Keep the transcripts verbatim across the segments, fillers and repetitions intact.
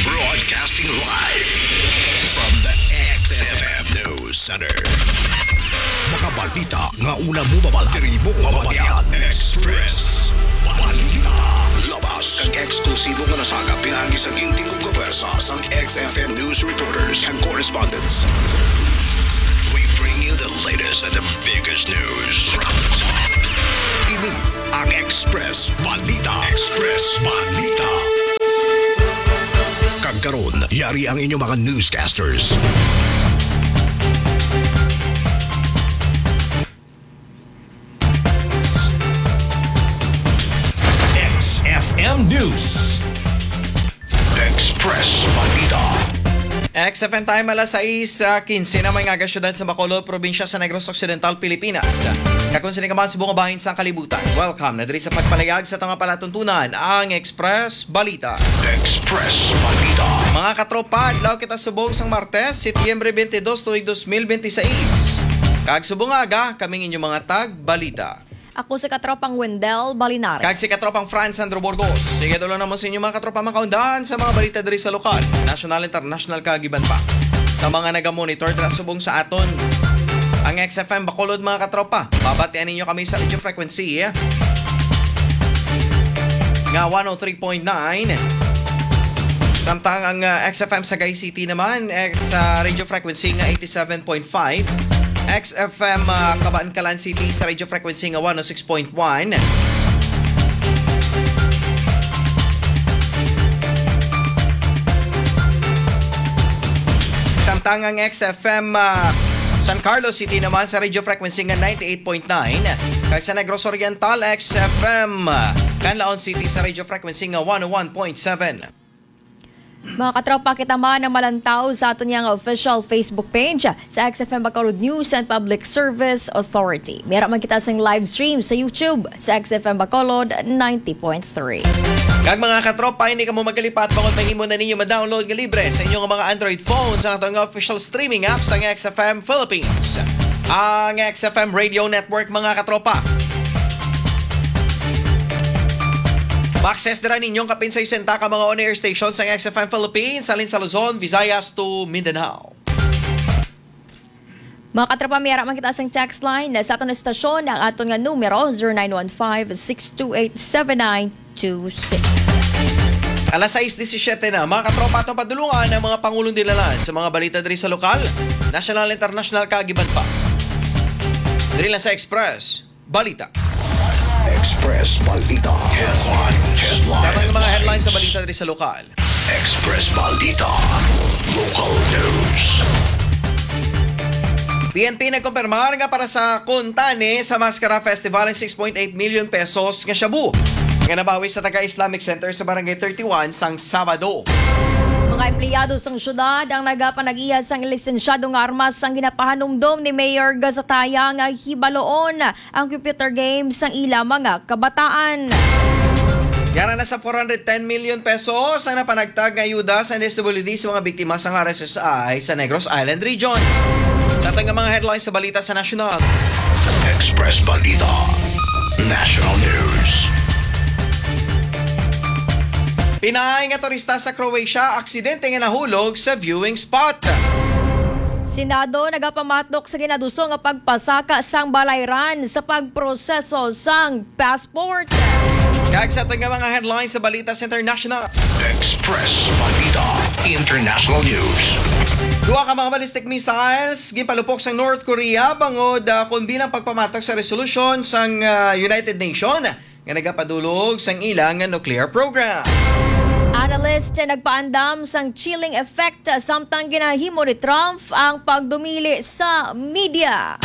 Broadcasting live from the X F M News Center. Mga balita nga una mo mabala, diri mo mabatian. Express Balita. Labas kag eksklusibo nga nasagap pinaagi sa gintingog ka pwersa sang X F M news reporters and correspondents. We bring you the latest and the biggest news from the top. Ini ang Express Balita. Express Balita. Kag karon, yari ang inyong mga newscasters. X F M News. Express Balita. X F M time, alas sais, ah, quince na, may nga aga, siyudad sa Bacolod, probinsya sa Negros Occidental, Pilipinas. Kag kon sini ka man subong nga bahin sang kalibutan, welcome na diri sa pagpalayag sa tunga palatuntunan, ang Express Balita. Express Balita. Mga katropa, adlaw kita subong sang Martes, Setyembre twenty-two, tuig dos mil benti sais. Kag subong nga aga, kami ang inyong mga tagbalita. Ako si katropang Wendell Balinares. Kag si katropang Franz Sandro Burgos. Sige, dulo na mo sa inyo, mga katropa, makaundahan sa mga balita diri sa lokal, national, international, kag iban pa. Sa mga nagamonitor dira subong sa aton, ang X F M Bacolod, mga katropa, mabatian ninyo kami sa radio frequency nga one oh three point nine. Samtang ang, ah, X F M Sagay City naman, eh, sa radio frequency nga eighty-seven point five. X F M, ah, Kabankalan City sa radio frequency nga one oh six point one. Samtang ang X F M, ah, San Carlos City naman sa radio frequency nga ninety-eight point nine, kag sa Negros Oriental, X F M, ah, Canlaon City sa radio frequency nga one oh one point seven. Mga katropa, kita man ang malantaw sa aton nga official Facebook page sa X F M Bacolod News and Public Service Authority. May ara man kita sing live stream sa YouTube sa X F M Bacolod ninety point three. Kag mga katropa, hindi kamo magkalipat bangod mahimo na ninyo ma-download nga libre sa inyong mga Android phones ang aton nga official streaming app sang X F M Philippines, ang X F M Radio Network, mga katropa. Ma-access dira ninyong kapin sa sesenta ka mga on-air stations sang X F M Philippines, halin sa Luzon, Visayas to Mindanao. Mga katropa, may ara man kita sang text line sa aton estasyon, ang aton nga numero, zero nine one five, six two eight, seven nine two six. Alas sais disisiete na, mga katropa, atong padulungan ang mga pangulong dilalan sa mga balita diri sa lokal, national, international, kag iban pa. Diri lang sa Express Balita. Express Balita. Headlines. Sa mga headlines sa balita diri sa lokal. Express Balita. Local news. P N P nagkumpirmar nga para sa Kuntani sa Maskara Festival ang six point eight million pesos nga shabu nga nabawi sa taga Islamic Center sa Barangay thirty-one sang Sabado. Mga empleyado sang syudad ang nagapanag-iya sang lisensyado nga armas sang ginapahanumdom ni Mayor Gazataya nga hibaloon ang computer games sang ila mga kabataan. Yara na sa four hundred ten million pesos ang napanagtag nga ayuda sa D S W D sa mga biktima sang R S S I sa Negros Island Region. Sa aton nga mga headlines sa balita sa nasyonal. Express Balita. National News. Pinaay nga turista sa Croatia, aksidente nga nahulog sa viewing spot. Senado nagapamatok sa ginaduso nga pagpasaka sang balayran sa pagproseso sang passport. Kag sa aton nga mga headlines sa balita sa international. Express Balita International News. Duha ka mga ballistic missiles ginpalupok sa North Korea bangod, ah, kon bilang pagpamatok sa resolusyon sang, ah, United Nation nga nagapadulog sang ila nga nuclear program. Analyst nagpaandam sang chilling effect samtang ginahimo ni Trump ang pagdumili sa media.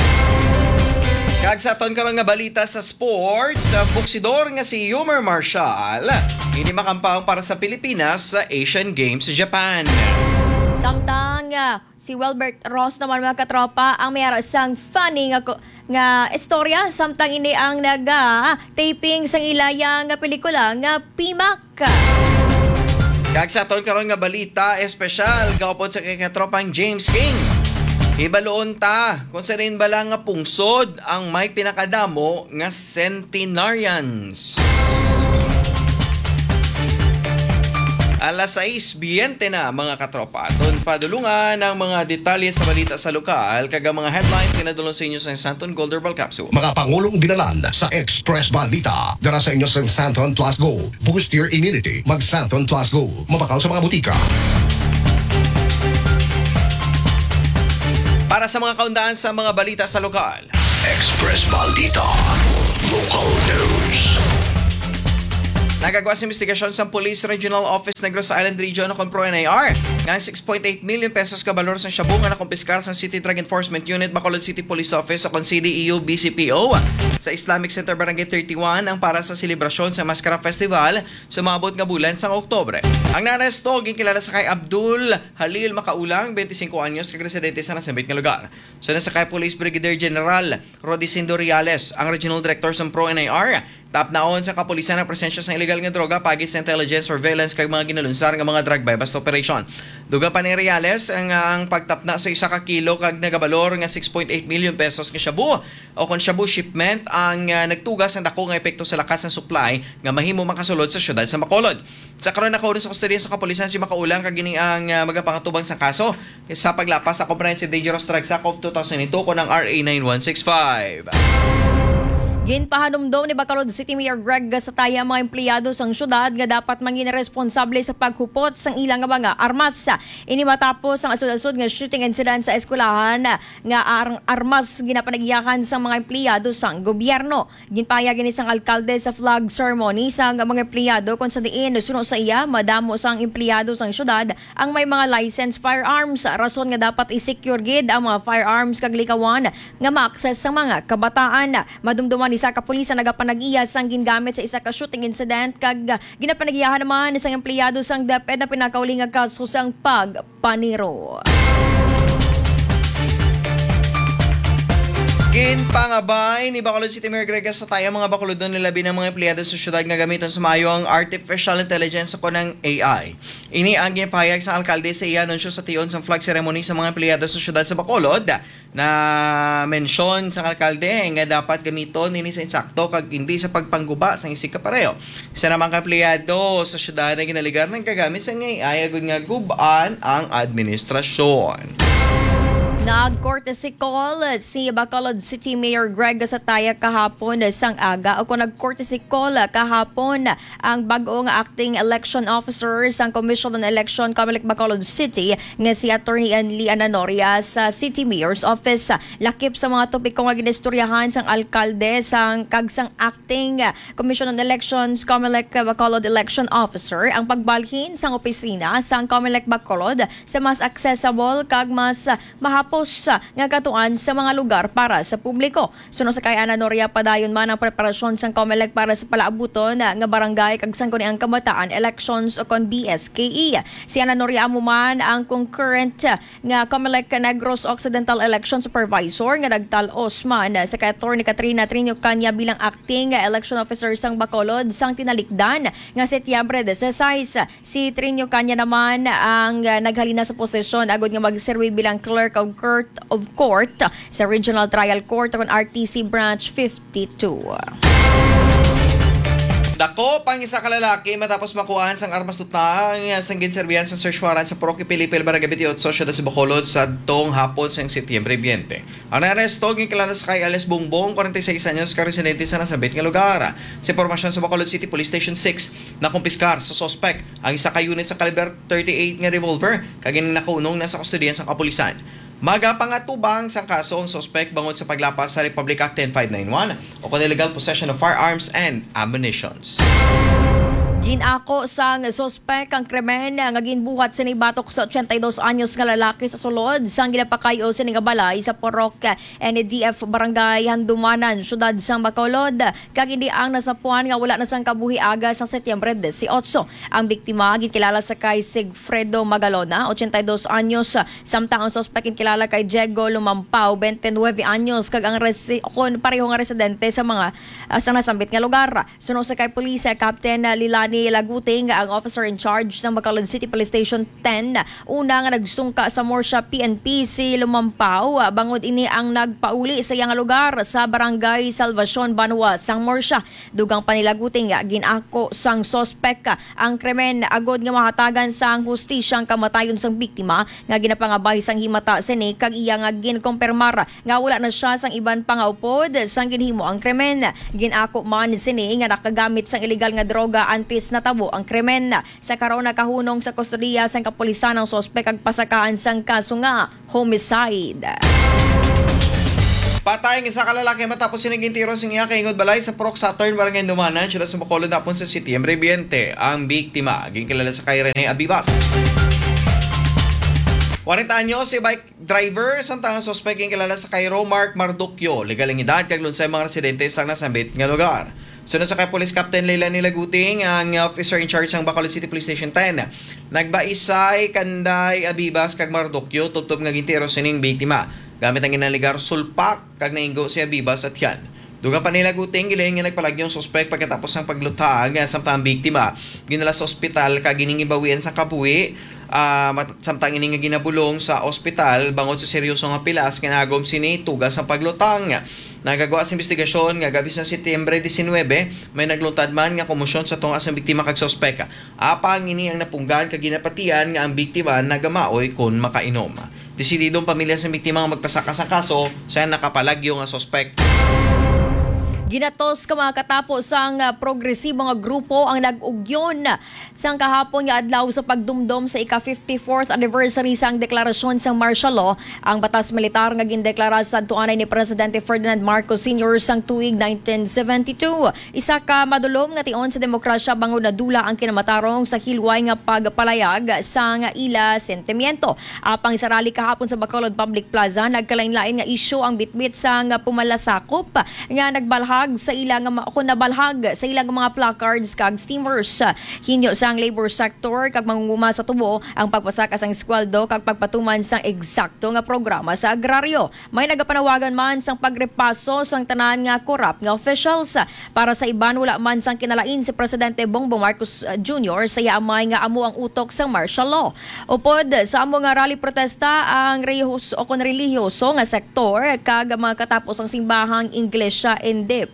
Kag sa aton karon nga balita sa sports, ang boksidor nga si Yomir Marshall hindi makampang para sa Pilipinas sa Asian Games sa Japan. Samtang, ah, si Welbert Ross naman, mga katropa, ang may ara sang funny nga ko-, nga istorya samtang ini ang naga-taping sang ilaya nga pelikula nga Pimak. Kag sa aton karon nga balita espesyal, gaupod sa kay katropang James King. Hibaloon ta kung sirin bala nga pungsod ang may pinakadamo nga centenarians. Alas sais biyente na, mga katropa. Aton padulungan ang mga detalye sa balita sa lokal kag ang mga headlines nga nadulong sa inyo sa Santon Gold Herbal Capsule. Mga pangulong binalan sa Express Balita. Dara sa inyo sa Santon Plus Go. Boost your immunity. Mag Santon Plus Go. Mabakal sa mga butika. Para sa mga kaundaan sa mga balita sa lokal. Express Balita. Local News. Nagagwa sa investigasyon sa Police Regional Office Negros Island Region o kon PRO-NIR nga ang six point eight million pesos ka balor sang shabu nga nakumpiskar sa City Drug Enforcement Unit, Bacolod City Police Office o kon C D E U B C P O sa Islamic Center Barangay thirty-one ang para sa selebrasyon sa Maskara Festival sa maabot nga bulan sang Oktubre. Ang naaresto ginkilala sa kay Abdul Halil Makaulang, twenty-cinco anyos, kag residente sa nasambit nga lugar. Suno sa kay Police Brigadier General Rodicindo Reales, ang Regional Director sang PRO-NIR, tapnaon sa kapulisan ang presensya sang illegal nga droga paagi sa intelligence surveillance kag mga ginalunsar nga mga drug buy-bust operation. Dugang pa ni Reales ang, ang pagtapna sa isa ka kilo kag nagabalor nga six point eight million pesos nga shabu o kon shabu shipment ang, ah, nagtuga sang dako nga epekto sa lakat sang supply nga mahimo makasulod sa siyudad sa Bacolod. Sa karon, nakauna sa kustodiya sa kapulisan si Makaulang kag ini ang, ah, magapangtubang sa kaso sa paglapas sa Comprehensive Dangerous Drugs Act of two thousand two kon ang R A nine one six five. Ginpahanumdom ni Bacolod City Mayor Greg Gatazataya ang mga empleyado sang syudad nga dapat mangin responsable sa paghupot sang ila nga mga armas. Ini matapos ang asod-asod nga shooting incident sa eskwelahan nga ar- armas ginapanag-iyahan sang mga empleyado sang gobyerno. Ginpahayag ini sang alkalde sa flag ceremony sang mga empleyado, kon sa diin, suno sa iya, madamo sang empleyado sang syudad ang may mga licensed firearms, rason nga dapat i-secure gid ang mga firearms kag likawan nga ma-access sang mga kabataan. Madumduman, isa ka pulis ang nagapanag-iya sang gingamit sa isa ka shooting incident kag ginapanag-iyahan naman sang empleyado sang DepEd ang pinakauli nga kaso sang pag paniro. Ginpangabay ni Bacolod City Mayor Greg Gatazataya ang mga Bacolodon, labi na ang mga empleyado sa syudad, nga gamiton sa maayo ang artificial intelligence o kon ang A I. Ini ang ginpahayag sa alkalde sa iya anunsyo sa tion sang flag ceremony sa mga empleyado sa syudad sa Bacolod. Na-mention sang alkalde nga dapat gamiton ini sa insakto kag hindi sa pagpangguba sang isig kapareho. Isa naman ka empleyado sa syudad nga ginaligar nagkagamit sang A I agud nga gub-an ang administrasyon. Nag-courtesy call si Bacolod City Mayor Greg Gatazataya kahapon sang aga, o kon nag-courtesy call kahapon ang bag-o nga acting election officer sang Commission on Election, Comelec Bacolod City, nga si Attorney Enli Ananoria sa City Mayor's Office. Lakip sa mga topiko nga ginistoryahan sang alkalde sang kag sang acting Commission on Elections, Comelec Bacolod Election Officer, ang pagbalhin sang opisina sang Comelec Bacolod sa mas accessible kag mas mahapos nga katuan sa mga lugar para sa publiko. Suno sa kay Ananoria, padayon man ang preparasyon sang Comelec para sa palaabuton nga barangay kag sangguniang kabataan elections o kon B S K E. Si Ananoria amo man ang concurrent nga Comelec Negros Occidental Election Supervisor nga nagtal-os man sa kay Attorney Katrina Trinio Caña bilang acting election officer sang Bacolod sang tinalikdan nga Setyembre dieciséis. Si Trinio Caña naman ang, ah, naghalina sa posisyon agud nga magserbi bilang Clerk of Court, of Court sa Regional Trial Court o kon R T C Branch fifty-two. Dakop ang isa ka lalaki matapos makuhaan sang armas tuta nga sang ginserbihan sa search warrant sa Purok Ipilipil, Barangay twenty-eight, Siyudad sa Bacolod, sadtong hapon sang Setyembre twenty. Ang naaresto ginkilala sa kay alias Bongbong, forty-six anyos, ka residente sa nasambit nga lugar. Sa impormasyon sa Bacolod City Police Station six, nakumpiskar sa suspek ang isa ka unit sa caliber thirty-eight nga revolver, kag ini nakunong na sa kustodiya sa kapulisan. Magapangatubang sang kaso ang suspek bangod sa paglapas sa Republic Act ten five nine one o kon illegal possession of firearms and ammunitions. Ginako sang suspek ang krimen nga ginbuhat sini batok sa ochenta y dos anyos nga lalaki sa sulod sang ginapakayo sini nga balay sa Purok N D F Barangay Handumanan, Siyudad sang Bacolod, kag indi ang nasapuan nga wala na sang kabuhi aga sang Setyembre dieciocho. Ang biktima ginkilala sa kay Sigfredo Magalona, ochenta y dos anyos, samtang ang suspek ginkilala kay Diego Lumampao, twenty-nine anyos, kag ang resi-, kon pareho nga residente sa mga, ah, sa nasambit nga lugar. Suno sa kay Police Captain Lilani Laguting, ang officer in charge sang Bacolod City Police Station ten, una nga nagsungka sa Murcia P N P si Lumampaw, bangod ini ang nagpauli sa iya nga lugar sa Barangay Salvacion, Banwa sang Murcia. Dugang pa ni Laguting, gin-ako sang suspek ang krimen agod nga mahatagan sang hustisya ang kamatayon sang biktima nga ginapangabay sang himata sini kag iya nga ginkumpirmar nga wala na sia sang iban pa nga upod sang ginhimo ang krimen. Gin-ako man sini nga nakagamit sang iligal nga droga antes natabo ang krimen. Sa karon, nakahunong sa kustodiya sang kapulisan ang suspek kag pasakahan sang kaso nga homicide. Patay ang isa ka lalaki matapos sini gintiro sing iya kaingod balay sa Purok Saturn, Barangay Dumanan, siyudad sa Bacolod, hapon sa Setyembre twenty. Ang biktima, ginkilala sa kay Rene Abibas. Kwarenta anyos, si bike driver, samtang ang suspek ginkilala sa kay Romark Marduquio, legal ang edad, kag lunsay mga residente sa nasambit nga lugar. Suno sa kay Police Captain Leilani Laguting, ang officer in charge sang Bacolod City Police Station ten, nagbaisay kanday Abibas kag Marduquio tubtob nga gintiro sining biktima gamit ang ginaligar sulpak kag nainggo si Abibas sa tiyan. Dugang pa ni Laguting, gilain nga nagpalagyo ang suspek pagkatapos sang paglutang, samtang ang biktima ginala sa ospital kag giningibawian sang kabuhi, ah, mat-, samtang ini nga ginabulong sa ospital bangod sa seryoso nga pilas nga nagagom sini tuga sang paglutang. Nagagwa sa investigasyon nga gab-i sa Setyembre diecinuebe, may nagluntad man nga komosyon sa tunga sang biktima kag suspek. Apang ini ang napunggan kag ginapatian nga ang biktima nagamaoy kon makainom. Desidido ang pamilya sa biktima nga magpasaka sa kaso sa nakapalagyo nga suspek. Ginatos ka mga katapo sang, ah, progresibo nga grupo ang nag-ugyon sang kahapon nga adlaw sa pagdumdom sa ika fifty-fourth anniversary sang deklarasyon sang martial law, ang batas militar nga gindeklara sadto anay ni Presidente Ferdinand Marcos Senior sang tuig nineteen seventy-two. Isa ka madulom nga tion sa demokrasya bangod nadula ang kinamatarong sa hilway nga pagpalayag sang ila sentimiento. Apang sa rally kahapon sa Bacolod Public Plaza, nagkalainlain nga isyu ang bitbit sang pumalasakop nga nagbalhag sa ila nga ma-, kon nabalhag sa ila nga mga placards kag streamers. Hinyo sang labor sector kag mangunguma sa tubo ang pagpasaka sang sweldo kag pagpatuman sang eksakto nga programa sa agraryo. May nagapanawagan man sang pagrepaso sang tanan nga korap nga officials. Para sa iban, wala man sang kinalain si Presidente Bongbong Marcos, uh, Junior sa iya amay nga amo ang utok sang martial law. Upod sa amo nga rally protesta ang rehiyos-, o kon relihiyoso nga sektor kag ang mga katapo sang simbahang Iglesia Independiente.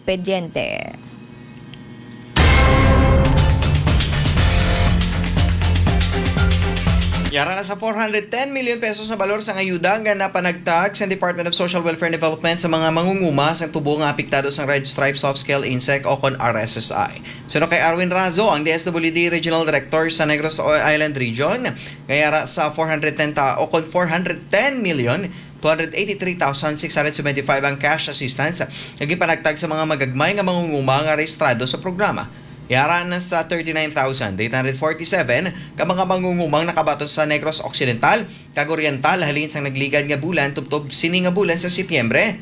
Yara na sa four hundred ten million pesos na balor sang ayuda nga napanagtag sa Department of Social Welfare and Development sa mga mangunguma sang tubo nga apektado sang Red Stripe Soft Scale Insect o kon R S S I. Suno kay Arwin Razo, ang D S W D Regional Director sa Negros Island Region, nga yara sa four hundred ten ta-, o kon four hundred ten million two hundred eighty-three thousand six hundred seventy-five ang cash assistance nga gipanagtag sa mga magagmay nga mangunguma nga rehistrado sa programa. Yara na sa thirty-nine thousand eight hundred forty-seven ka mga mangungumang nakabaton sa Negros Occidental kag Oriental halin sang nagligad nga bulan tubtob sini nga bulan sa Setyembre,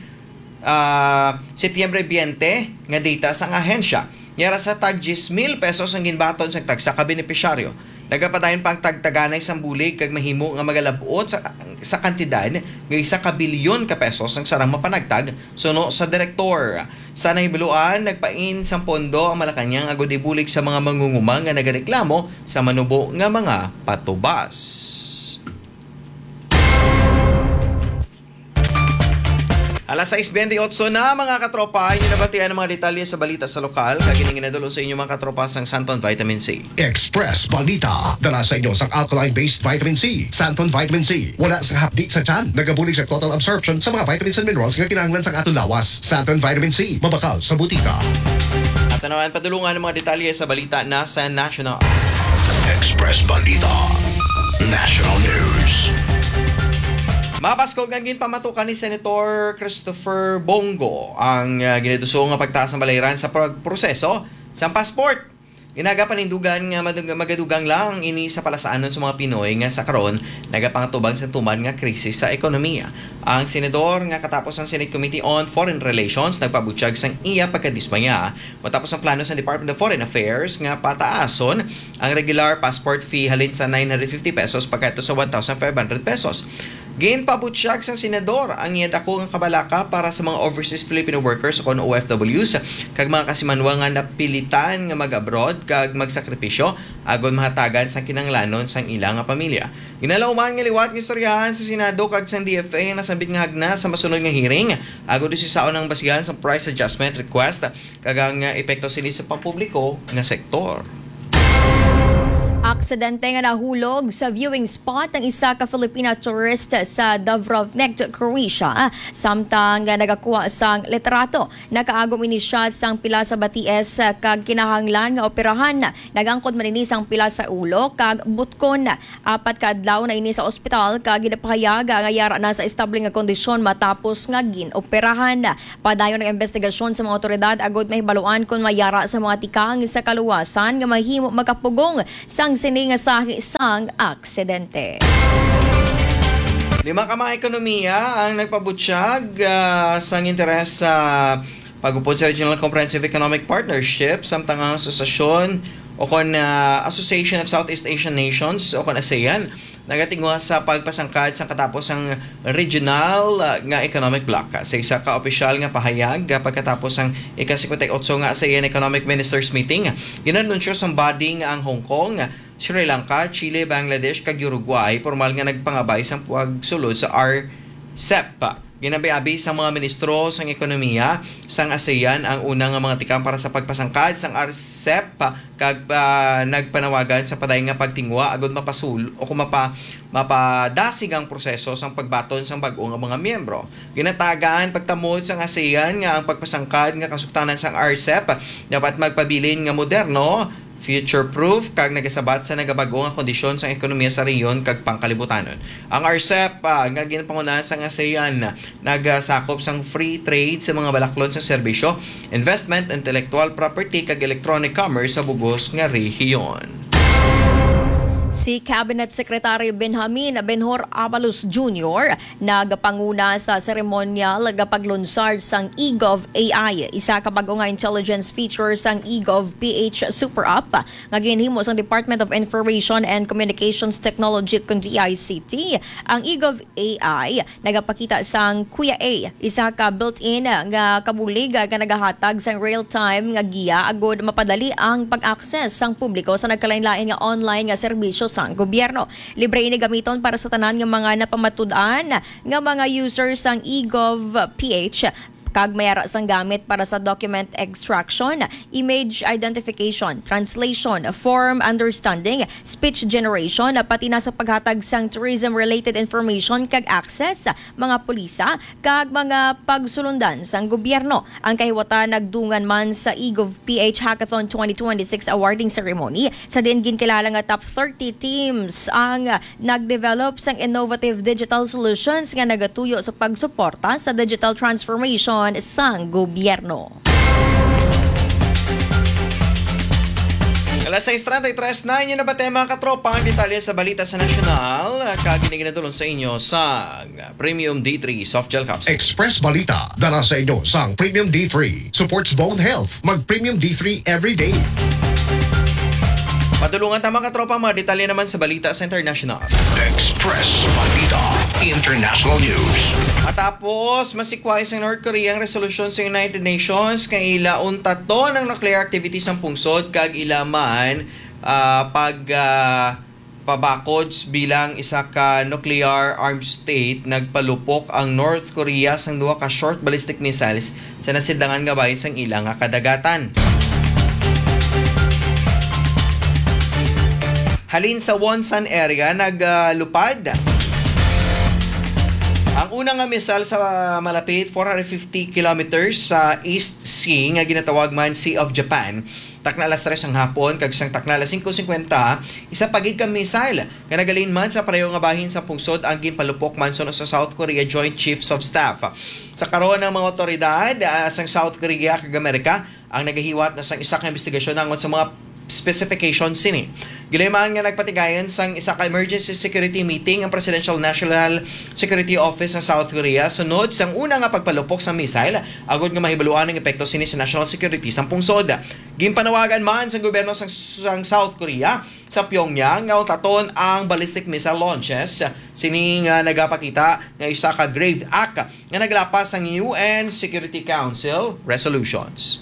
ah, Setyembre twenty nga data sang ahensya. Yara sa tag diyes mil pesos ang ginbaton sang tagsa ka benepisyaryo. Nagapadayon pa ang tagtaganay sang bulig kag mahimo nga magalab-ot sa, sa kantidad nga isa ka bilyon ka pesos ang sarang mapanagtag, suno sa direktor. Sa nahibaluan, nagpain sang pondo ang Malacañang agud ibulig sa mga mangunguma nga nagareklamo sa manubo nga mga patubas. Alas sais bente otso na, mga katropa. Inyo nabatian ang mga detalye sa balita sa lokal. Kag ini ginadul-ong sa inyo, mga katropa, sang Santon Vitamin C. Express Balita. Dala sa inyo sang alkaline-based vitamin C, Santon Vitamin C. Wala sang hapdi sa tiyan. Nagabulig sa total absorption sa mga vitamins and minerals nga kinahanglan sang aton lawas. Santon Vitamin C. Mabakal sa butika. At tanawan, padulungan ang mga detalye sa balita na sa National. Express Balita. National News. Mabaskog ang ginpamatukan ni Senator Christopher Bong Go ang, ah, ginaduso nga pagtaas ng balayran sa pagproseso sa passport. Ginagapanindugan nga madug-, magadugang lang ini sa palasaanon sa mga Pinoy nga sa karon nagapangatubang sa tuman nga krisis sa ekonomiya. Ang senador nga katapos ang Senate Committee on Foreign Relations nagpabutyag sang iya pagkadismaya matapos ang plano sa Department of Foreign Affairs nga pataason ang regular passport fee halin sa nine hundred fifty pesos pagkadto sa one thousand five hundred pesos. Ginpabutyag sang senador ang iya dako nga kabalaka para sa mga overseas Filipino workers o kon O F Ws kag mga kasimanwa nga napilitan nga mag-abroad kag magsakripisyo agod mahatagan sang kinahanglanon sang ila nga pamilya. Ginalauman nga liwat nga istoryahan sa Senado kag sang D F A ang nasambit nga hagna sa masunod nga hearing agod usisaon ang basihan sang price adjustment request kag ang, ah, epekto sini sa pampubliko nga sektor. Aksidente nga nahulog sa viewing spot ang isa ka Filipina tourist sa Dubrovnik, Croatia, samtang nagakuha sang litrato. Nakaagom ini siya sang pila sa batis kag kinahanglan nga operahan. Nag-angkon man ini sang pila sa ulo kag butkon. Apat ka adlaw na ini sa ospital kag ginapahayag nga yara na sa estable nga kondisyon matapos nga gin-operahan. Padayon ang imbestigasyon sa mga awtoridad agud mahibaluan kon may yara sa mga tikang sa kaluwasan nga mahimo makapugong sang sini nga sahi sang aksidente. Lima ka mga ekonomiya ang nagpabutyag, ah, sang interes sa pag-upod sa Regional Comprehensive Economic Partnership, samtang ang asosasyon o kon, ah, Association of Southeast Asian Nations o kon asean nagatinguha sa pagpasangkad sang katapos sang regional, ah, nga economic bloc. Sa isa ka opisyal nga pahayag, ah, pagkatapos sang ika-singkwenta y otso nga asean Economic Ministers Meeting, ginanunsyo sang body nga ang Hong Kong, Sri Lanka, Chile, Bangladesh, kag Uruguay pormal nga nagpangabay sang pagsulod sa R C E P. Ginabi-abi sang mga ministro sang ekonomiya sang asean ang una nga mga tikang para sa pagpasangkad sang R C E P, kag, ah, nagpanawagan sa padayon nga pagtinguha agud mapasul-, o kung mapa-, mapadasig ang proseso sang pagbaton sang bag-o nga mga miyembro. Ginatagan pagtamod sang asean nga ang pagpasangkad nga kasugtanan sang R C E P dapat magpabilin nga moderno, future-proof, kag nagasabat sa nagabag-o nga kondisyon sang ekonomiya sa rehiyon kag pangkalibutanon. Ang R C E P, ah, nga ginpangunahan sang asean, nagasakop sang free trade sa mga balaklon sa serbisyo, investment, intellectual property, kag electronic commerce sa bugos nga rehiyon. Si Cabinet Secretary Benjamin Benhur Abalos Junior nagapanguna sa seremonyal nga paglunsad sang eGov A I, isa ka bag-o nga intelligence feature sang eGov P H Super App nga ginhimo sang Department of Information and Communications Technology, kon D I C T. Ang eGov A I nagapakita sang Kuya A, isa ka built-in nga kabulig nga nagahatag sang real-time nga giya agud mapadali ang pag-access sang publiko sa nagkalain-lain nga online nga serbisyo sang gobyerno. Libre ini gamiton para sa tanan nga mga napamatud-an nga mga user sang eGov P H, kag may ara sang gamit para sa document extraction, image identification, translation, form understanding, speech generation, pati na sa paghatag sang tourism-related information kag access, mga pulisa, kag mga pagsulundan sang gobyerno. Ang kahiwatan nagdungan man sa eGov P H Hackathon twenty twenty-six awarding ceremony, sa diin ginkilala nga top thirty teams ang nag-develop sang innovative digital solutions nga nagatuyo sa pagsuporta sa digital transformation sang gobyerno. Alas sais treinta y tres na, inyo na ba tayo, mga katropa, ang detalye sa balita sa nasyonal? Kag ini ginadulong sa inyo sa Premium D three Soft Gel Capsule. Express Balita, dala sa inyo sang Premium D three. Supports bone health. Mag Premium D three every day. Padulungan ta, mga katropa, mga detalye naman sa balita sa international. Express Balita International News. Matapos masikway sa North Korea ang resolusyon sa United Nations nga ila untaton ang nuclear activities sang pungsod kag ila man, ah, pag, ah, pabakod bilang isa ka nuclear armed state, nagpalupok ang North Korea sang duha ka short ballistic missiles sa nasidlangan nga bahin sang ila nga kadagatan. Halin sa Wonsan area, naglupad ang una nga missile sa malapit four hundred fifty kilometers sa East Sea nga ginatawag man Sea of Japan. Takna alas tres ang hapon kag sang takna alas singko singkwenta, isa pa gid ka missile nga nagalinman sa pareho nga bahin sa pungsod ang ginpalupok man suno sa South Korea Joint Chiefs of Staff. Sa karon, ang mga awtoridad, ah, sang South Korea kag Amerika ang nagahiwat na sang isa ka investigasyon naangot sa mga specification sini. Ginlaman nga nagpatigayon sang isa ka emergency security meeting ang Presidential National Security Office sa South Korea sunod sang una nga pagpalupok sa missile, agod nga mahibaluan ang epekto sini sa national security sang pungsod. Ginpanawagan man sang gobyerno sang, sang South Korea sa Pyongyang nga utaton ang ballistic missile launches sini nga nagapakita nga isa ka grave act nga naglapas sang U N Security Council resolutions.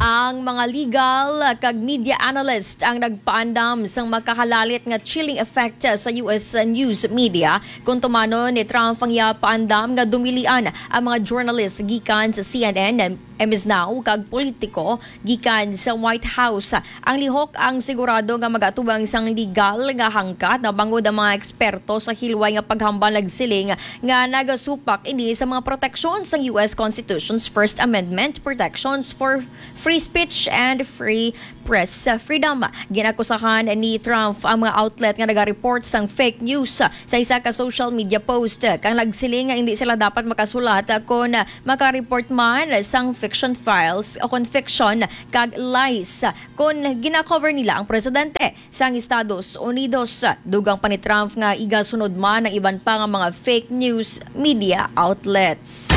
Ang mga legal kag media analyst ang nagpaandam sang makahalalit nga chilling effect sa U S news media kung tumanon ni Trump ang iya paandam nga dumilian ang mga journalist gikan sa C N N, M S Now, kag politiko gikan sa White House. Ang lihok ang sigurado nga mag-atubang sang legal nga hangkat, na bangod ang mga eksperto sa hilway nga paghambal nagsiling nga nagasupak ini sa mga proteksyon sang U S Constitution's First Amendment, protections for free speech and free press freedom. Ginakusahan ni Trump ang mga outlet nga nagareport sang fake news sa isa ka social media post, kag nagsiling nga hindi sila dapat makasulat kon makareport man sang fiction files o kon fiction kag lies kon gina-cover nila ang presidente sang Estados Unidos. Dugang pa ni Trump nga igasunod man ang iban pa nga mga fake news media outlets.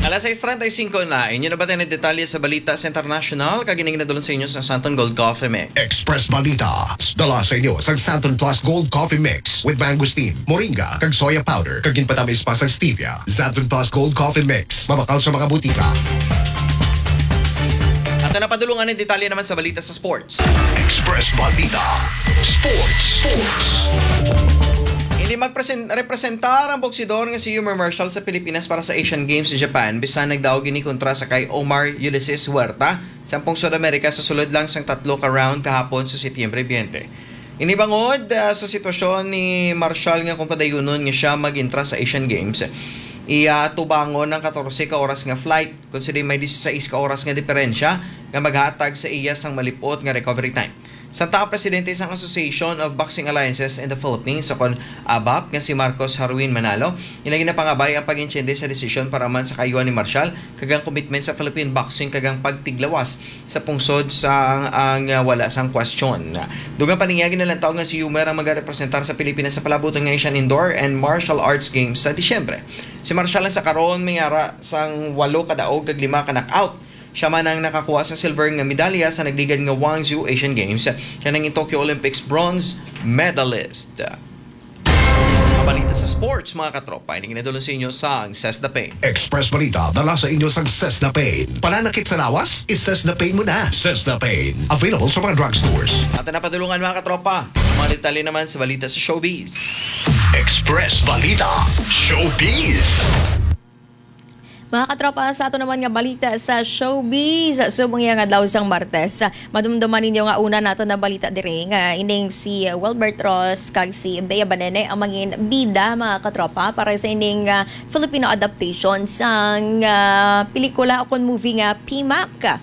Alas sais treinta y cinco na, inyo na ba tayo detalye sa balita sa international? Kag ining nadulong sa inyo sa Santon Gold Coffee Mix. Express Balita, dala sa inyo sa Santon Plus Gold Coffee Mix with mangosteen, moringa, kag soya powder, kag ginpatamis pa sa stevia. Santon Plus Gold Coffee Mix, mabakal sa mga butika. Ato na padulungan ang detalye naman sa balita sa sports. Express Balita, Sports, Sports. Hindi magpresen-, representar ang boksidor nga si Yummer Marshall sa Pilipinas para sa Asian Games sa Japan, bisan nagdaog ini kontra sa kay Omar Ulysses Huerta sa pungsod Amerika sa sulod lang sang tatlo ka round kahapon sa Setyembre twenty. Ini bangod, ah, sa sitwasyon ni Marshall nga kung padayunon nga siya mag-entra sa Asian Games, iya tubangon ang katorse ka oras nga flight, considering may disisais ka oras nga diferensya nga maghatag sa iya sang malipot nga recovery time. Samtang ang presidente sang Association of Boxing Alliances in the Philippines, o kon ABAP, nga si Marcos Harwin Manalo, ila ginapangabay ang pag-intsyende sa desisyon para man sa kaayuhan ni Marshall kag ang commitment sa Philippine boxing kag ang pagtiglawas sa pungsod sa ang, ah, wala sang kwestiyon. Dugang pa niya, ginalantaw nga si Yummer ang magarepresentar sa Pilipinas sa palabuton nga Asian Indoor and Martial Arts Games sa Disyembre. Si Marshall ang sa karon may ara sang walo ka daog kag lima ka knockout. Siya man ang nakakuha sa silver nga medalya sa nagligad nga Guangzhou Asian Games, kag nangin Tokyo Olympics bronze medalist. Ang balita sa sports, mga katropa, ini ginadulong sa inyo sang Cesda Pain. Express Balita, dala sa inyo sang Cesda Pain. Pananakit sa lawas? I-Cesda Pain mo na. Cesda Pain, available sa mga drugstores. Ato na padulungan, mga katropa, ang mga detalye naman sa balita sa showbiz. Express Balita, Showbiz. Mga katropa, sa ato naman nga balita sa showbiz, subong iya nga adlaw sang Martes, madumduman ninyo nga una nato na balita diri nga ining si Wilbert Ross kag si Bea Banene ang mangin bida, mga katropa, para sa ining, ah, Filipino adaptation sang, ah, pelikula o kon movie nga P-MAC.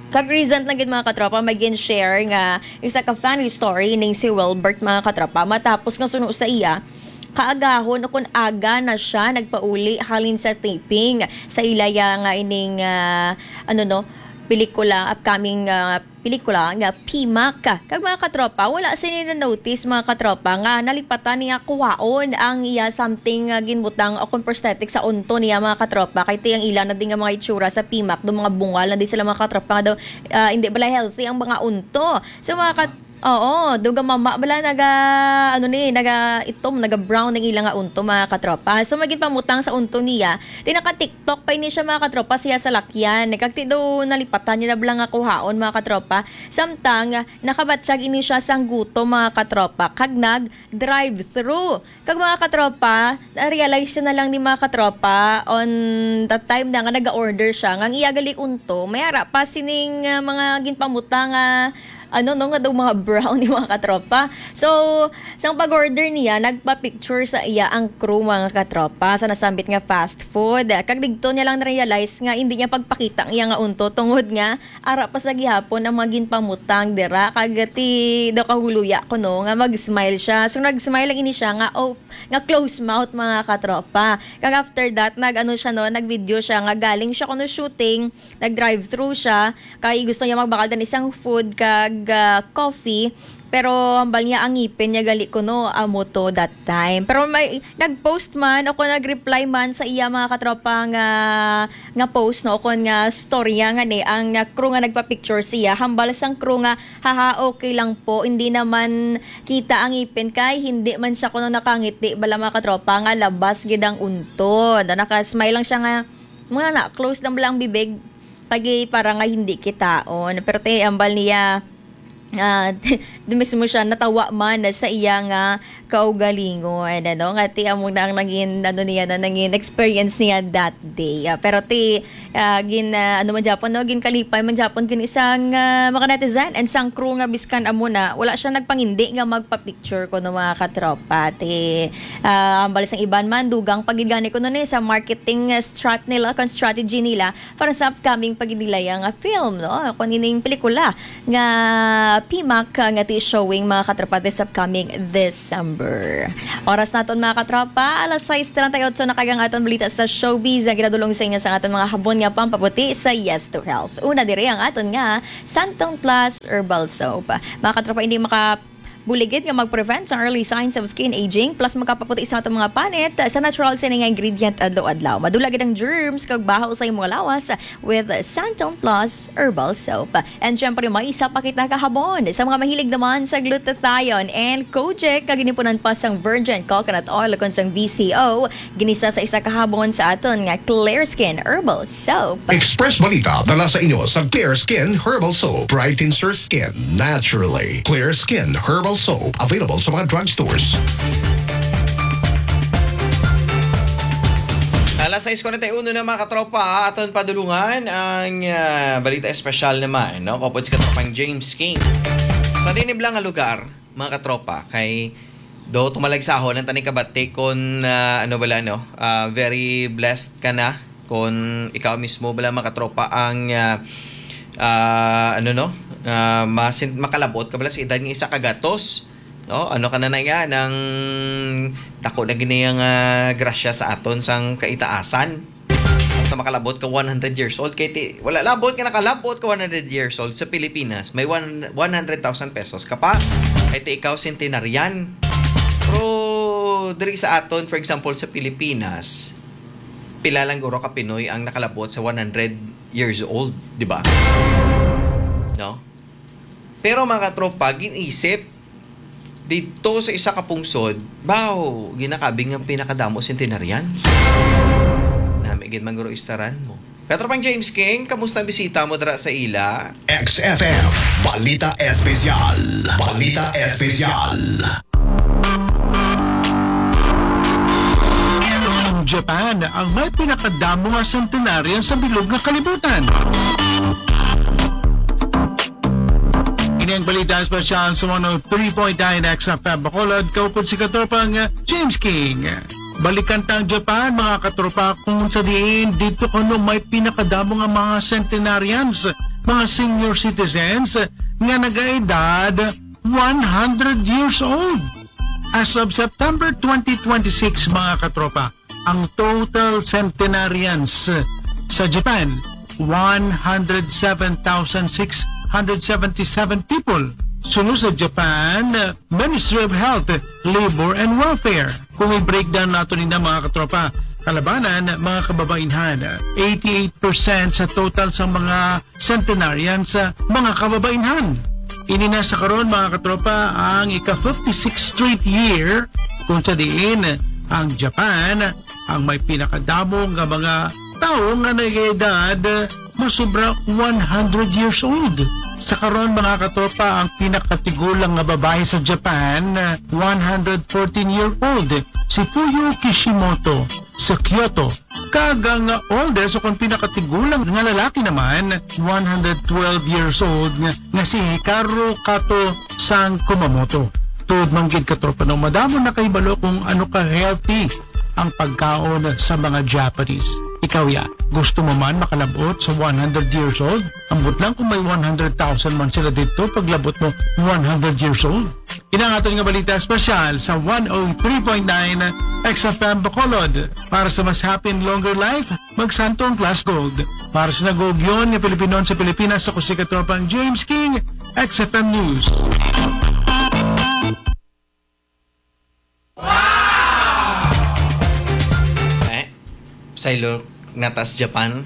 Kag recent lang gid, mga katropa, may gin-share nga isa ka funny story ning si Wilbert, mga katropa, matapos nga suno sa iya, kaagahon o kon aga na siya nagpauli halin sa taping sa ilaya nga ining, ah, ano, no, pelikula, upcoming, ah, pelikula nga P-MAC. Kag, mga katropa, wala sini na-notice, mga katropa, nga nalipatan niya kuhaon ang iya something nga ginbutang o kon prosthetic sa unto niya, mga katropa, kay ti ang ila na din nga mga itsura sa P-MAC, do mga bungal na din sila, mga katropa, nga daw, ah, hindi bala healthy ang mga unto. So, mga kat-, oo, dugang mama bala naga, ano ni, naga itom, naga brown ang ila nga unto, mga katropa. So, maging pamutang sa unto niya, ti naka-TikTok pa ini siya, mga katropa, siya sa lakyan. Kag ti daw nalipatan niya na bala nga kuhaon, mga katropa. Samtang nakabatyag ini siya sang gutom, mga katropa, kag nag-drive-thru. Kag, mga katropa, na-realize siya na lang ni, mga katropa, on the time na nga naga-order siya, nga ang iya gali unto, may ara pa sining, ah, mga ginpamutang nga ano, no, nga daw mga brown ni, mga katropa. So, sang pag-order niya, nagpa-picture sa iya ang crew, mga katropa, sa nasambit nga fast food. Kag digto niya lang na-realize nga hindi niya pagpakita ang iya nga unto tungod nga ara pa sa gihapon ang mga ginpamutang dira. Kag ti daw kahuluya ko, no, nga mag-smile siya. So, nag-smile lang ini siya nga, oh, nga close mouth, mga katropa. Kag after that, nag-ano siya, no, nag-video siya nga galing siya kuno shooting, nag-drive-thru siya, kay gusto niya magbakal dan isang food kag, ah, coffee, pero hambal niya ang ngipin niya gali kuno amo to that time. Pero may nag-post man o kung nag-reply man sa iya, mga katropa, nga, nga post, no, o kung nga storya nga ni ang, ah, crew nga nagpa-picture siya, hambal sang crew nga, "Haha, okay lang po, hindi naman kita ang ngipin kay hindi man siya kuno nakangiti bala, mga katropa, nga labas gid ang unto." Na naka-smile lang siya nga, muna na, close lang bala ang bibig. Lagi para nga hindi kitaon. Pero ti, hambal niya, ah, di mismo siya natawa man sa iya nga kaugalingon, ano, nga ti amo na ang nangin, ano niya, na nangin experience niya that day. Ah, pero ti, ah, gin, ah, ano man gyapon, no, ginkalipay man gyapon gin isang, ah, mga netizen and sang crew nga biskan amo na, wala siya nagpangindi nga magpa-picture kuno, mga katropa. Ti, ah, hambal sang iban man, dugang pa gid gani kuno ni sa marketing, ah, strat nila, kung strategy nila, para sa upcoming pa gid nila yang, ah, film, no? Kung ining pelikula nga P-MAC, ah, nga ti showing, mga katropa, this upcoming December. Oras naton, mga katropa, alas sais treinta y ocho na kag ang aton balita sa showbiz ang ginadulong sa inyo sa aton mga habon nga pampabuti sa Yes to Health. Una diri ang aton nga Santon Plus Herbal Soap. Mga katropa, hindi maka buligid nga mag-prevent sa early signs of skin aging, plus makapaputi sa atong mga panit sa natural sini nga ingredient adlaw-adlaw. Madula gid ang germs kag baho sa imong lawas with Santon Plus Herbal Soap. And syempre, may isa pa kita kahabon sa mga mahilig naman sa glutathione and kojic, kag ginipunan pa sang virgin coconut oil kon sang V C O, ginisa sa isa ka habon sa aton nga Clear Skin Herbal Soap. Express Balita dala sa inyo sa Clear Skin Herbal Soap. Brightens your skin naturally. Clear Skin Herbal Soap, available sa mga drugstores. Alas sais kuwarenta y uno na, mga katropa, aton padulungan ang, ah, balita espesyal naman, no? Kaupod si katropang James King. Sa dinibla nga lugar, mga katropa, kay do tumalagsahon ang taning kabati kon, ah, ano bala, no? Ah, very blessed ka na kon ikaw mismo bala, mga katropa, ang, ah, ah, ano, no? Ah, masin-, makalabot ka bala sa edad nga isa ka gatos, no? Ano ka na na nga, nang dako na gini ang, ah, grasya sa aton sang kaitaasan. Basta makalabot ka one hundred years old, kay ti, wala labot nga nakalabot ka one hundred years old sa Pilipinas. May one, one hundred thousand pesos ka pa. Kay ti ikaw centenarian. Pero diri sa aton, for example, sa Pilipinas, pila lang guro ka Pinoy ang nakalabot sa one hundred years old, di ba? No? Pero, mga katropa, gin-isip dito sa isa ka pungsod, baw, ginakabing ang pinakadamo centenarians. Nami gid man guro istaran mo. Katropang James King, kamusta ang bisita mo dira sa ila? X F M, Balita Espesyal. Balita Espesyal. Ang Japan ang may pinakadamo nga centenarian sa bilog nga kalibutan. Ini ang balita espesyal sa one oh three point nine X F M Bacolod, kaupod si katropang James King. Balikan ta ang Japan, mga katropa, kung sa diin dito kuno may pinakadamo nga mga centenarians, mga senior citizens nga nagaedad one hundred years old. As of September twenty twenty-six, mga katropa, ang total centenarians sa Japan, one hundred seven thousand six hundred seventy-seven people. Suno sa Japan Ministry of Health, Labor and Welfare. Kung i-breakdown nato ninda, mga katropa, kalabanan, mga kababainhan, eighty-eight percent sa total sa mga centenarians, mga kababainhan. Ini na sa karon, mga katropa, ang ika fifty-six straight year kung sa diin ang Japan ang may pinakadamo nga mga tawo nga nag-edad masubra one hundred years old. Sa karon, mga katropa, ang pinakatigulang nga babayi sa Japan, one hundred fourteen year old, si Fuyu Kishimoto. sa Kyoto, kag ang oldest o kon pinakatigulang nga lalaki naman, one hundred twelve years old, nga, nga si Hikaru Kato sang Kumamoto. Tuod man gid, katropa, no, madamo nakahibalo kung ano ka healthy ang pagkaon sa mga Japanese. Ikaw ya, gusto mo man makalab-ot sa one hundred years old? Ambot lang kung may one hundred thousand man sila dito, paglabot mo one hundred years old. Ina ang aton nga balita espesyal sa one oh three point nine X F M Bacolod. Para sa mas happy and longer life, magsanto ang Class Gold. Para sa nag-uugyon nga Pilipinon sa Pilipinas, ako si Katropang James King, X F M News. Eh, saylo nata sa Japan.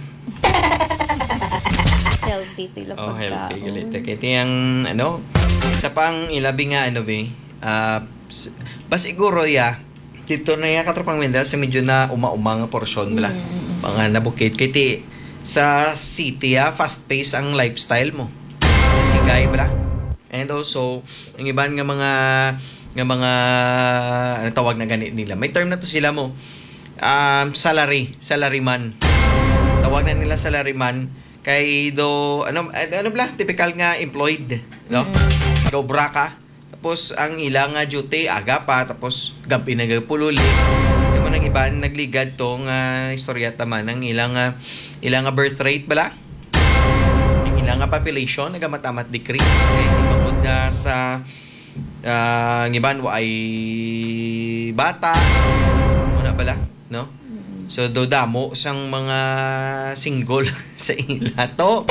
Healthy to ilang Oh, healthy pagkaon. galit. Kaya tiyang, ano, isa pang ilabi nga, ano, be, ah, s- ba siguro, ya, dito na yung katropang Wendell sa medyo na uma-uma nga porsyon, bala. Mm. Mga nabukid. Kaya ti, sa city, ah, fast-paced ang lifestyle mo. Sigay, bala. And also, ang iban nga mga, nga mga, ano tawag na gani nila? May term na to sila mo. Um, salary, salaryman. Tawag na nila salaryman. Kay do, ano, ano bala? Typical nga employed, no? Mm. Gobra ka. Tapos, ang ila nga duty, aga pa, tapos gabi na gapululi. Yung mga iban, nagligad to nga istorya taman ang ila nga, ila nga birth rate bala. Ang ila nga population, nagamamat-amat decrease. Kaya di bangod nga sa, ah, ang iban, wa ay bata. Muna bala, no? So, do damo sang mga single sa ila to.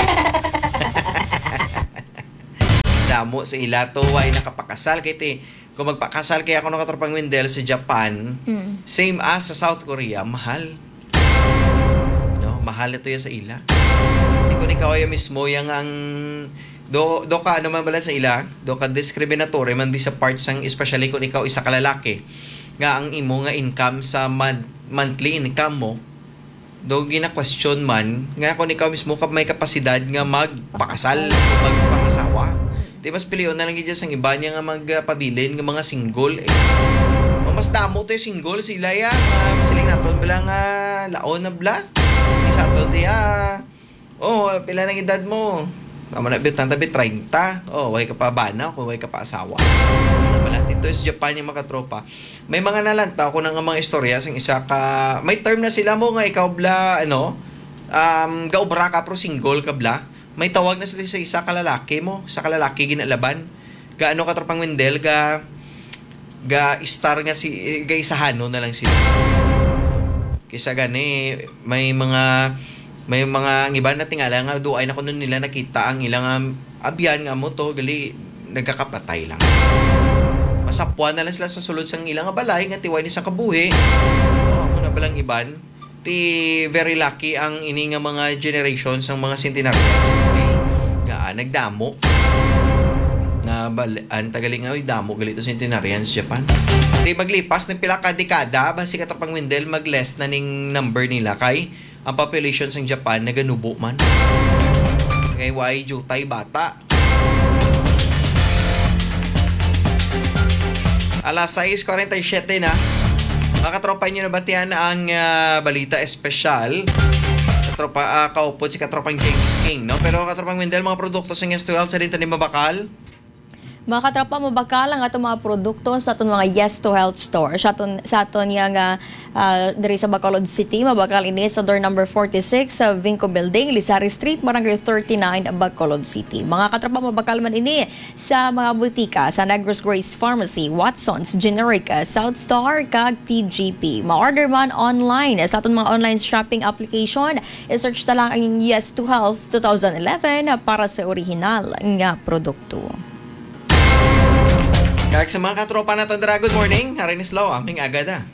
Damo sa ila to, way nakapakasal. Kay ti, kung magpakasal kay ako no katropang Wendell sa Japan, Mm. same as sa South Korea, mahal. No, mahal ito ya sa ila. Di ko ni kawaya mismo yang ang do do ka ano man bala sa ila, do ka discriminatory man bi sa part sang, especially kung ikaw isa ka lalaki, nga ang imo nga income sa month, monthly income mo, do gina-question man nga kung ikaw mismo ka may kapasidad nga magpakasal o magpangasawa. Di mas pilion na lang gid sang iba niya nga magpabilin nga mga single eh. Mas damo to yung single sila ya. Mga masiling naton bala nga laon na bala. Isa to diya. Oh, pila nang edad mo? Tama na, bit, tanta, bit, treinta. Oh, way ka pa bana, kung way ka pa asawa. Ano pala, dito sa Japan yung mga tropa. May mga nalantaw ko na nga mga istorya sang isa ka, may term na sila mo nga ikaw bla, ano, um, gaobra ka pero single ka bla. May tawag na sila sa isa ka lalaki mo, sa ka lalaki ginalaban. Ga ano ka tropang Wendell, ga, ga star nga si, ga isahano na lang sila. Kisa gani, may mga, may mga ang iba na tingala nga duay na kuno nila nakita ang ilang, um, abyan nga mo to, gali, nagkakapatay lang. Masapuan na lang sila sa sulod sang ilang balay nga tiway ni sa kabuhi. Oo, mo na balang iban. Ti very lucky ang ini nga mga generation sang mga centenarians. Nga, ah, nagdamo. Na bal an tagali nga, "Uy, damo gali to centenarians Japan." Ti maglipas ng pila ka dekada, basi ka tropang Wendell, mag-less na ning number nila kay ang population sang Japan naganubo man. Kay why jutay bata. Alas sais kuwarenta y siyete na. Mga katropa, inyo nabatian ang, ah, balita espesyal. Katropa, ah, kaupod si katropang James King, no? Pero katropang Wendell, mga produkto sa Yes to Health, sa din tanim mabakal? Mga katropa, mabakal ang atong mga produkto sa atong mga Yes to Health store. Sa aton, sa aton nga, ah, diri sa Bacolod City, mabakal ini sa door number forty-six sa Vinco Building, Lizari Street, Barangay thirty-nine, Bacolod City. Mga katropa, mabakal man ini sa mga butika sa Negros Grace Pharmacy, Watson's Generic, ah, South Star, kag T G P. Ma-order man online sa aton mga online shopping application. I-search ta lang ang Yes to Health two thousand eleven para sa orihinal nga produkto. Kag sa mga katropa naton dira, good morning. Haray ni Slow, aming agada.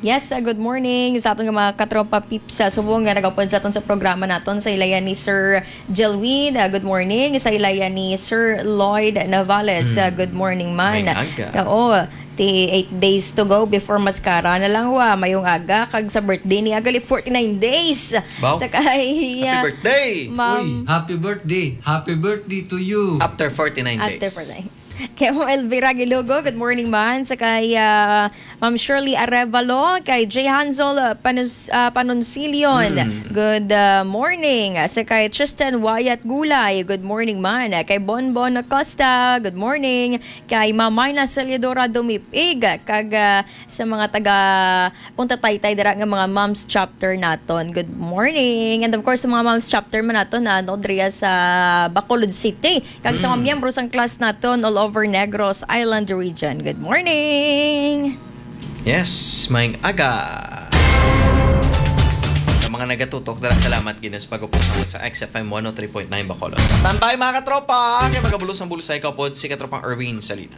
Yes, uh, good morning sa aton nga mga katropa peeps sa subong nga nagapod sa aton sa programa naton, sa ilayan ni Sir Jelwin. Uh, good morning. Sa ilayan ni Sir Lloyd Navales. Uh, good morning man. May aga. Oo. Forty-eight days to go before mascara na lang, wa. Mayong aga, kag sa birthday ni Agali, forty-nine days. Wow. Sa kay, Happy ah, birthday! Ma'am. Uy, happy birthday! Happy birthday to you! After forty-nine After days. forty-nine. Kay Ma'am Elvira Gilugo, good morning, man. Sa kay, ah, Ma'am Shirley Arevalo, kay J Hansel, ah, Panus-, ah, Panonsilion, Mm. good, ah, morning. Sa kay Tristan Wyatt Gulay, good morning, man. Kay Bonbon Acosta, good morning. Kay Ma'am Myna Celedora Dumipig, kag, ah, sa mga taga Punta Taytay dira nga mga Moms Chapter naton. Good morning. And of course, sa mga Moms Chapter man naton na, no, diri sa Bacolod City. Kag sa mga Mm. miyembro sang class naton all over Negros Island Region. Good morning. Yes, maayong aga. Sa mga nagatutok, dara, salamat gid sa pag-upod sa X F M one oh three point nine Bacolod. Standby, mga katropa, kay magabulos ang bulos sa ikapod si katropang Erwin Salinas.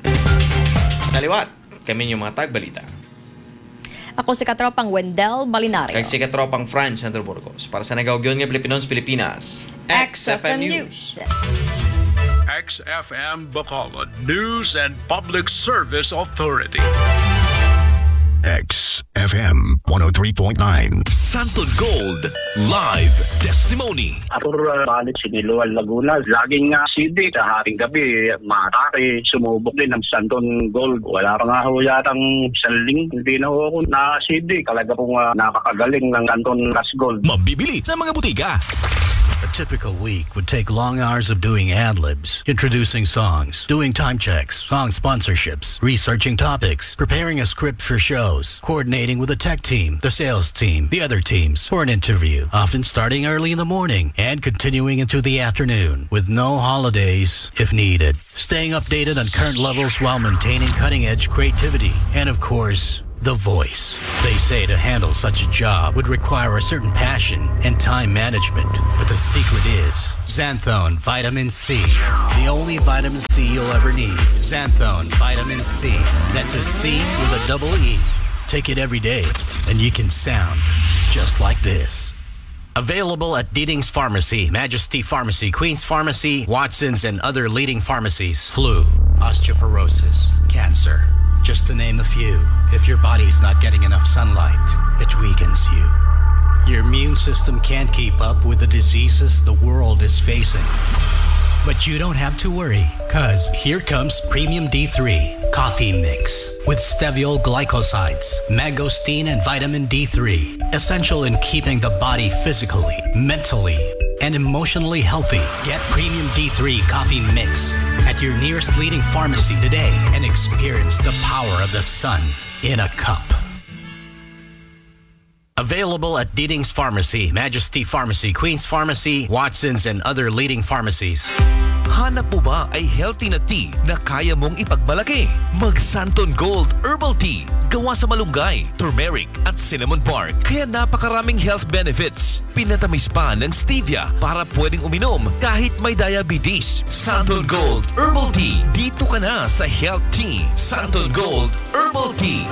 Sa liwat, kami yung mga tagbalita. Ako si katropang Wendell Balinario. Kag si katropang Franz Sandro Burgos. Para sa nagaugyon nga Pilipinons Pilipinas, X F M News. X F M Bacolod News and Public Service Authority. X F M one oh three point nine. Santon Gold Live Testimony. Ako, uh, balik Siniloan, Laguna. Laging, uh, C D, sa haring gabi, matake, sumubok din ang Santon Gold. Wala pa nga ho yatang isang linggo, hindi na ho ako na-C D. Talaga pong, ah, nakakagaling ng Santon Plus Gold. Mabibili sa mga butika. A typical week would take long hours of doing ad-libs, introducing songs, doing time checks, song sponsorships, researching topics, preparing a script for shows, coordinating with the tech team, the sales team, the other teams for an interview, often starting early in the morning and continuing into the afternoon with no holidays if needed. Staying updated on current levels while maintaining cutting-edge creativity. And of course, the voice. They say to handle such a job would require a certain passion and time management. But the secret is Xanthone Vitamin C. The only vitamin C you'll ever need. Xanthone Vitamin C. That's a C with a double E. Take it every day, and you can sound just like this. Available at Diding's Pharmacy, Majesty Pharmacy, Queen's Pharmacy, Watson's, and other leading pharmacies. Flu, osteoporosis, cancer, just to name a few. If your body's not getting enough sunlight, it weakens you. Your immune system can't keep up with the diseases the world is facing. But you don't have to worry, 'cause here comes Premium D three Coffee Mix with steviol glycosides, mangosteen, and vitamin D three, essential in keeping the body physically, mentally, and emotionally healthy. Get Premium D three Coffee Mix at your nearest leading pharmacy today and experience the power of the sun in a cup. Available at Diding's Pharmacy, Majesty Pharmacy, Queen's Pharmacy, Watson's, and other leading pharmacies. Hanap mo ba ay healthy na tea na kaya mong ipagmalaki? Mag Santon Gold Herbal Tea. Gawa sa malunggay, turmeric, at cinnamon bark. Kaya napakaraming health benefits. Pinatamis pa ng stevia para pwedeng uminom kahit may diabetes. Santon Gold Herbal Tea. Dito ka na sa Health Tea. Santon Gold Herbal Tea.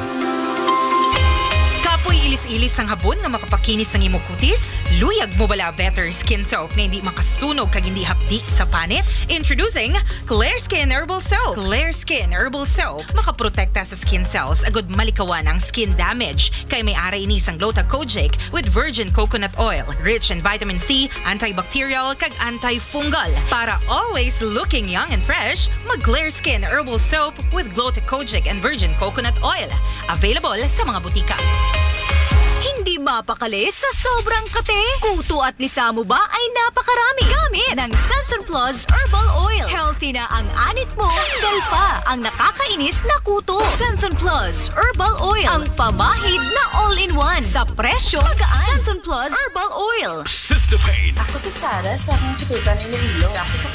Kapoy ilis-ilis sang habon nga makapakinis sang imo kutis? Luyag mo bala better skin soap nga hindi makasunog kag hindi hapdi sa panit? Introducing Clear Skin Herbal Soap. Clear Skin Herbal Soap makaprotekta sa skin cells agud malikawan ang skin damage, kay may ara ini sang Gluta Kojic with virgin coconut oil, rich in vitamin C, antibacterial, kag antifungal. Para always looking young and fresh, mag Clear Skin Herbal Soap with Gluta Kojic and virgin coconut oil. Available sa mga butika. Hindi mapakali sa sobrang kate? Kuto at lisa mo ba ay napakarami? Gamit ng Santon Plus Herbal Oil. Healthy na ang anit mo, tanggal pa ang nakakainis na kuto. Santon Plus Herbal Oil, ang pamahid na all-in-one sa presyo magaan. Santon Plus Herbal Oil. Sister Pain. Ako si Sarah sa akong katutan Iloilo. Sa ako pa